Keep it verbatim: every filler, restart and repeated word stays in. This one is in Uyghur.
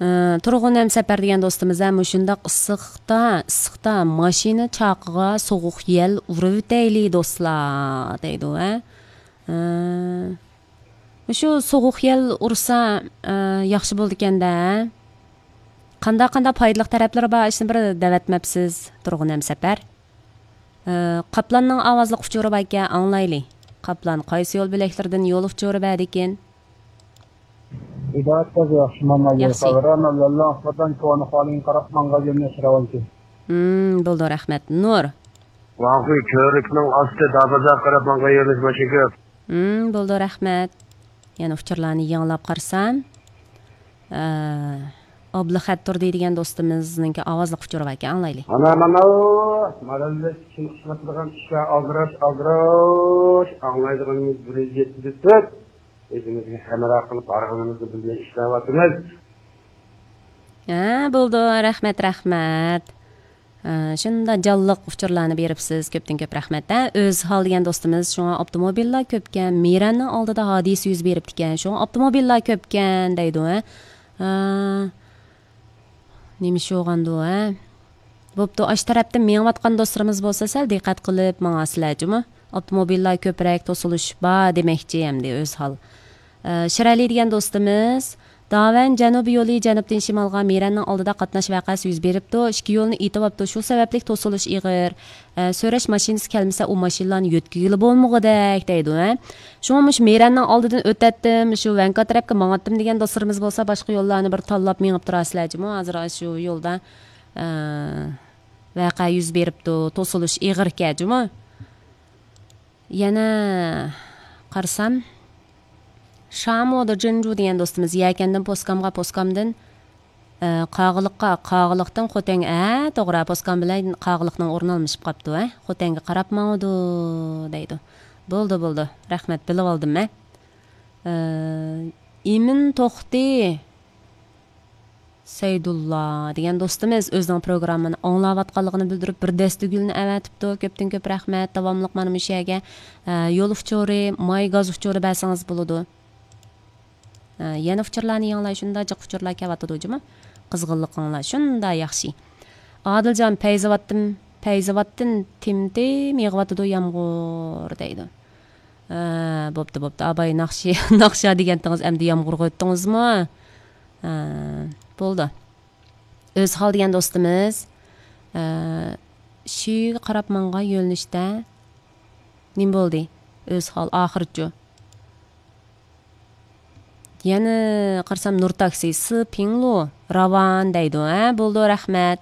ئى، تۇرغۇن ھەمسەپەر دېگەن دوستىمىز ھە، مۇشۇنداق ئىسسىقتا، ئىسسىقتا ماشىنا چاقىغا سوغۇق يەل ئۇرۇۋېتەيلى دوستلار، دەيدۇ ھە. ئى، مۇشۇ سوغۇق يەل ئۇرسا، ئى، ياخشى بولىدىكەن-دە. قاندا-قاندا پايدىلىق تەرەپلىرى بار، ئىشنى بىر دەۋەتمەپسىز، تۇرغۇن ھەمسەپەر. ئى، قاپلاننىڭ ئاۋازلىق ئۇچۇرى باركەن، ئاڭلايلى. قاپلان قايسى يول بۆلەكلىرىدىن يول ئۇچۇرى بەردىكىن؟ ھىدايەت قىز ياخشىمۇ؟ ياخشى. خەۋەر ئەمەل ياللاڭ قاپلان كونا خالىڭ قاراپ ماڭغان يۆنىلىش راۋانچى. ھىم، بولدى، رەھمەت. نۇر. ۋاڭخۇي كۆۋرۈكنىڭ ئاستى دابازا قاراپ ماڭغان يۆنىلىش ماشىنا كۆپ. ھىم، بولدى، رەھمەت. يەنە ئۇچۇرلارنى يېڭىلاپ قارىسام، ئە، ئابلىخەت تۇردى دېگەن دوستىمىزنىڭكى ئاۋازلىق ئۇچۇرى باركەن، ئاڭلايلى. ئانا مانا، ماراللىق ئۈچۈن ئىشلەتىدىغان ئىشلار ئالدىراش، ئالدىراش، ئاڭلايدىغىنىمىز بىر يۈز يەتتە تۆت. ئۆزىمىزگە ھەمراھ قىلىپ بارغىنىمىزنى بىلمەي ئىشلەۋاتىمىز. ھە، بولدى، رەھمەت، رەھمەت. ئە، شۇنداق جانلىق ئۇچۇرلارنى بېرىپسىز، كۆپتىن كۆپ رەھمەت. ھە، ئۆزھال دېگەن دوستىمىز، شۇڭا ئاپتوموبىللار كۆپكەن، مىرەننىڭ ئالدىدا ھادىسە يۈز بېرىپتىكەن، شۇڭا ئاپتوموبىللار كۆپكەن دەيدۇ، ھە. ئە، نېمە ئىش بولغاندۇ، ھە؟ بوپتۇ، ئاشۇ تەرەپتە مېڭىۋاتقان دوستلىرىمىز بولسا سەل دىققەت قىلىپ ماڭاسىلەر جۇمۇ. ئاپتوموبىللار كۆپرەك توسۇلۇش بار دېمەكچى ئەمدى ئۆزھال. ئە، شىرئەلى دېگەن دوستىمىز، داۋەن جەنۇبىي يولى جەنۇبتىن شىمالغا مىرەننىڭ ئالدىدا قاتناش ۋەقەسى يۈز بېرىپتۇ، ئىككى يولنى ئېتىۋاپتۇ، شۇ سەۋەبلىك توسۇلۇش ئېغىر. ئە، سۆرەش ماشىنىسى كەلمىسە ئۇ ماشىنىلارنى يۆتكىگىلى بولمىغۇدەك دەيدۇ، ھە. شۇڭا مۇشۇ مىرەننىڭ ئالدىدىن ئۆتەتتىم، شۇ ۋەنكا تەرەپكە ماڭاتتىم دېگەن دوستلىرىمىز بولسا باشقا يوللارنى بىر تاللاپ مېڭىپ تۇراسىلەر جۇمۇ. ھازىر شۇ يولدا، ئە، ۋەقە يۈز بېرىپتۇ، توسۇلۇش ئېغىركەن جۇمۇ. يەنە قارىسام، شامۇدا جىنجۇ دېگەن دوستىمىز يەكەندىن پوسكامغا، پوسكامدىن، ئە، قاغىلىققا، قاغىلىقتىن خوتەنگە، ھە، توغرا، پوسكام بىلەن قاغىلىقنىڭ ئورنى ئالمىشىپ قاپتۇ، ھە، خوتەنگە قاراپ ماڭىدۇ، دەيدۇ. بولدى، بولدى، رەھمەت، بىلىۋالدىم مەن. ئە، ئىمىن توختى. سەيدۇللا دېگەن دوستىمىز ئۆزىنىڭ پروگراممىنى ئاڭلاۋاتقانلىقىنى بىلدۈرۈپ، بىر دەستە گۈلنى ئەۋەتىپتۇ. كۆپتىن كۆپ رەھمەت. داۋاملىق مانا مۇشۇ يەرگە، ئە، يول ئۇچۇرى، ماي گاز ئۇچۇرى بەرسىڭىز بولىدۇ. ئە، يەنە ئۇچۇرلارنى يېڭىلاي، شۇنداق جىق ئۇچۇرلار كەۋاتىدۇ جۇمۇ. قىزغىنلىقىڭلار شۇنداق ياخشى. ئادىلجان، پەيزاۋاتتىن، پەيزاۋاتتىن تىم-تىم يېغىۋاتىدۇ يامغۇر دەيدۇ. ھە، بوپتۇ، بوپتۇ. ئاباي ناخشا، ناخشا دېگەنتىڭىز ئەمدى يامغۇرغا ئۆتتىڭىزمۇ؟ ھە، بولدى. ئۆزھال دېگەن دوستىمىز، ھە، شۈيگە قاراپ ماڭغان يۆنىلىشتە نېمە بولدى؟ ئۆزھال ئاخىرىچۇ؟ يەنە قارىسام، نۇر تاكسى، سى پىڭلۇ، راۋان دەيدۇ. ھە، بولدى، رەھمەت.